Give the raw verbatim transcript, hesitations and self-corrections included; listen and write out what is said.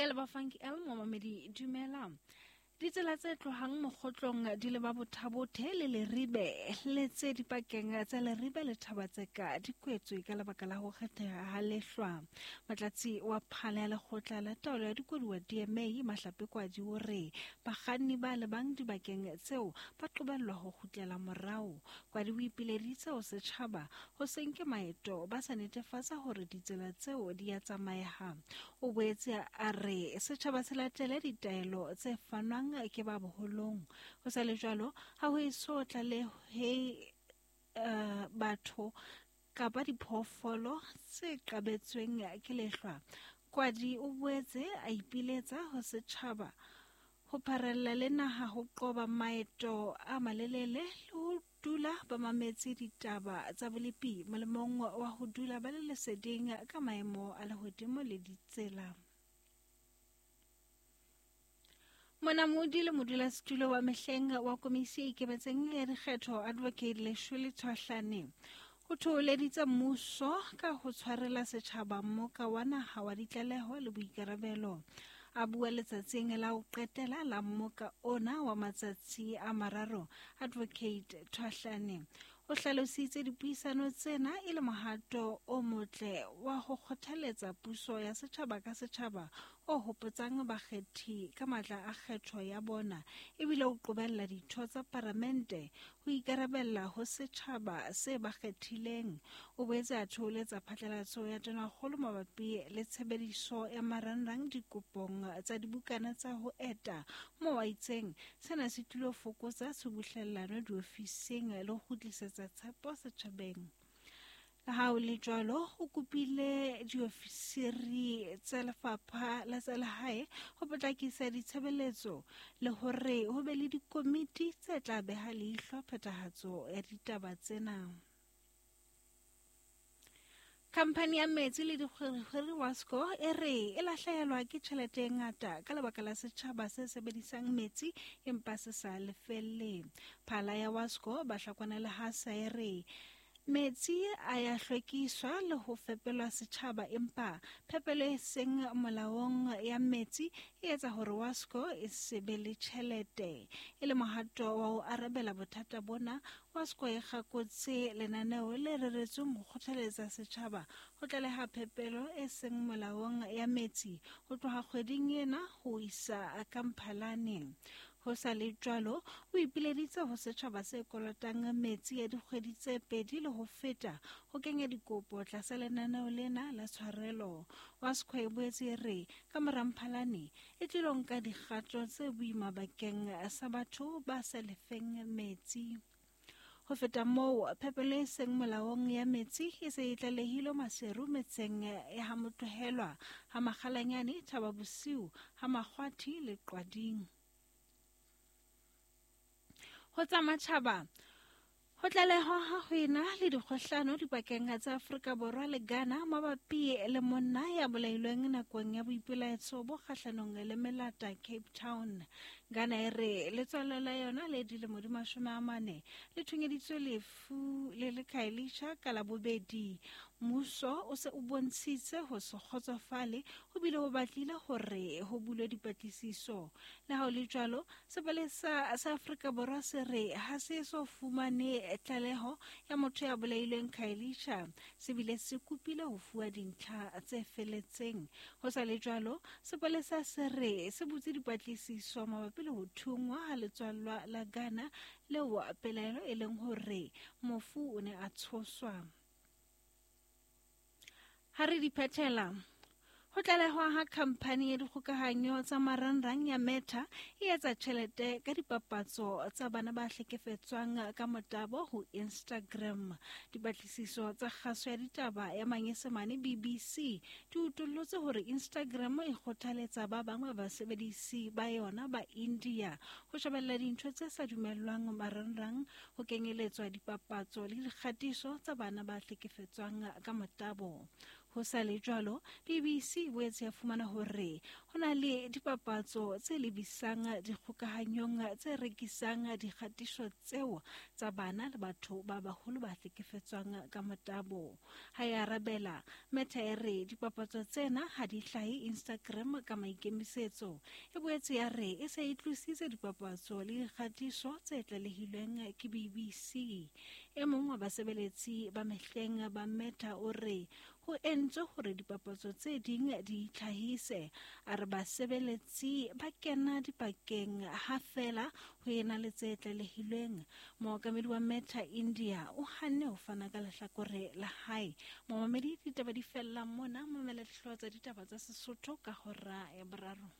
Ke leba Funky L momamedi dumela. Ditsela tse tlohang mokgotlong di leba Bothabothe le Leribe le tse dipakeng tsa Leribe le Thabatseka di kwetswe ka lebaka la ho kgetheha ha lehlwa. Motlatsi wa phala ya lekgotla la taolo ya dikoduwa D M A Mahlape Kwadi o re bakganni ba lebang dibakeng tseo ba qobellwa ho kgutlela morao. Kwadi o ipileditse ho setjhaba ho se nke maeto ba sa netefatsa hore ditsela tseo di a tsamaeha. O boetse a re setjhaba se latele ditaelo tse fanwang ke ba boholong. Ho sa le jwalo, ha ho eso tlalehe uh, batho kapa diphoofolo tse qabetsweng ke lehlwa. Kwadi o boetse a ipiletsa ho setjhaba ho pharella le naha ho qoba maeto a malelele le ho dula ba mametse ditaba tsa bolepi molemong wa ho dula ba le leseding ka maemo a lehodimo le ditsela. Monamodi le modulasetulo wa mehleng wa komisi e ikemetseng ya dikgetho Advocate Leshole Tshwahlane o thoholeditse mmuso ka ho tshwarela setjhaba mmoka wa naha wa ditlaleho le boikarabelo. A bua letsatsing la ho qetela la mmoka ona wa matsatsi a mararo, Advocate Tshwahlane o hlalositse dipuisano tsena e le mohato o motle wa ho kgothaletsa puso ya setjhaba ka setjhaba o hopotsang bakgethi ka matla a kgetho ya bona ebile o qobella ditho tsa paramente ho ikarabella ho setjhaba se ba kgethileng. O boetse a thoholetsa phatlalatso ya Tonakgolo mabapi le tshebediso ya marangrang dikopong tsa dibukana tsa ho eta moo a itseng sena se tlilo fokotsa tshubuhlellano diofising le ho kgutlisetsa tshepo setjhabeng. Le ha ho le jwalo, o kopile diofisiri tsa lefapha la tsa lehae ho potlakisa ditshebeletso le hore ho be le dikomiti tse tla beha leihlo phethahatso ya ditaba tsena. Khamphani ya metsi le dikgwerekgwere Wasco e re e lahlehelwa ke tjhelete e ngata ka lebaka la setjhaba se sebedisang metsi empa se sa lefelle. Phala ya Wasco Bahlakwana Lehasa e re metsi a ya hlwekiswa le ho fepelwa setjhaba empa phepelo e seng molaong ya metsi e etsa hore Wasco e se be le tjhelete. E le mohato wa ho arabela bothata bona, Wasco e kgakotse lenaneo le reretsweng ho kgothaletsa setjhaba ho tlaleha phepelo e seng molaong ya metsi ho tloha kgweding ena ho isa ka Mphalane. Ho sa le jwalo, o ipileditse ho setjhaba se kolotang metsi ya dikgwedi tse pedi le ho feta ho kenya dikopo tlasa lenaneo lena la tshwarelo. Wasco e boetse e re ka mora Mphalane e tlilo nka dikgato tse boima bakeng sa batho ba sa lefeng metsi. Ho feta moo, phepelo e seng molaong ya metsi e se e tlalehilwe Maseru metseng ya ha Motlohelwa, ha Makgalanyane, Thaba Bosiu, ha Makgwathi le Qwading. Ho tsa matjhaba, ho tlalehwa ha ho ena le dikgohlano dipakeng tsa Afrika Borwa le Ghana mabapi le monna ya bolailweng nakong ya boipelaetso bo kgahlanong le melata Cape Town. Ghana e re letswalo la yona le dilemo di mashome a mane le thunyeditswe lefu le le Khayelitsha ka Labobedi. Mmuso o se o bontshitse ho se kgotsofale ho bile ho batlile hore ho bulwe dipatlisiso. Le ha ho le jwalo, sepolesa sa Afrika Borwa se re ha se eso fumane tlaleho ya motho ya bolailweng Khayelitsha, se bile se kopile ho fuwa dintlha tse feletseng. Ho sa le jwalo, sepolesa se re se butse dipatlisiso mabapi le ho thungwa ha letswallwa la Ghana leo pelaelo e leng hore mofu o ne a tshoswa. Ha re di phethela, ho tlalehwa ha khamphani ya dikgokahanyo tsa marangrang ya Meta e etsa tjhelete ka dipapatso tsa bana ba hlekefetswang ka motabo ho Instagram. Dipatlisiso tsa kgaso ya ditaba ya Manyesemane B B C di utollotse hore Instagram e kgothaletsa ba bang ba basebedisi ba yona ba India ho shebella dintho tse sa dumellwang marangrang, ho kenyeletswa dipapatso le dikgatiso tsa bana ba hlekefetswang ka motabo. Ho sa le jwalo, B B C e boetse ya fumana hore ho na le dipapatso tse lebisang dikgokahanyong tse rekisang dikgatiso tseo tsa bana le batho ba baholo ba hlekefetswang ka motabo. Ha e arabela, Meta e re dipapatso tsena ha di hlahe Instagram ka maikemisetso. E boetse ya re e se e tlositse dipapatso le dikgatiso tse tlalehilweng ke B B C. E mong wa basebeletsi ba mehleng ba Meta o re ho entswe hore dipapatso tse ding di itlhahise. A re basebeletsi ba kena dipakeng ha feela ho ena le tse tlalehilweng. Mookamedi wa Meta India o hanne ho fana ka lehlakore la hae. Momamedi, ditaba di fella mona. Mamela dihlooho tsa ditaba tsa Sesotho ka hora ya boraro.